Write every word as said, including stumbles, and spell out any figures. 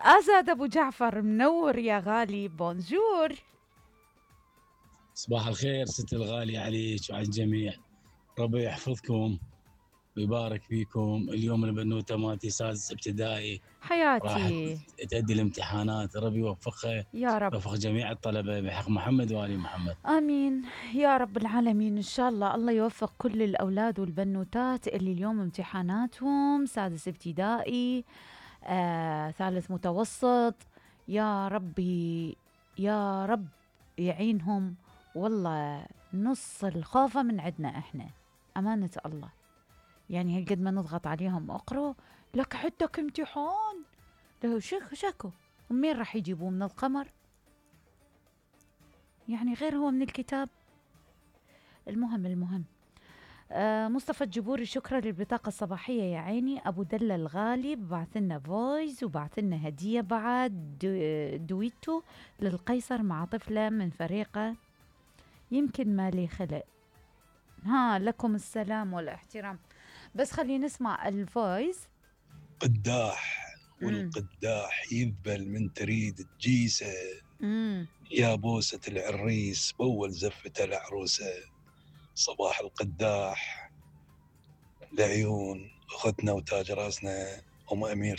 أسد أبو جعفر منور يا غالي، بونجور. صباح الخير ست الغالية عليك وعلى الجميع، ربي يحفظكم ويبارك فيكم. اليوم البنوتة مالتي سادس ابتدائي راح حياتي تأدي الامتحانات، ربي يوفقها، يا رب. يوفق جميع الطلبة بحق محمد وآل محمد. آمين يا رب العالمين. إن شاء الله الله يوفق كل الأولاد والبنوتات اللي اليوم امتحاناتهم سادس ابتدائي، آه، ثالث متوسط، يا ربي يا رب يعينهم. والله نص الخوفة من عندنا إحنا، أمانة الله. يعني هالقد ما نضغط عليهم اقرأ لك عندك امتحان، لو شك شكو ومين راح يجيبوه من القمر؟ يعني غير هو من الكتاب. المهم المهم آه مصطفى الجبوري، شكرا للبطاقة الصباحية يا عيني. أبو دلة الغالي بعث لنا فويس وبعث لنا هدية بعد دو دويتو للقيصر مع طفلة من فريقه، يمكن ما لي خلق. ها لكم السلام والاحترام. بس خلينا نسمع الفويس. قداح والقداح يذبل من تريد تجيسه، يا بوسة العريس بول زفة العروسة. صباح القداح لعيون أختنا وتاج راسنا أم أمير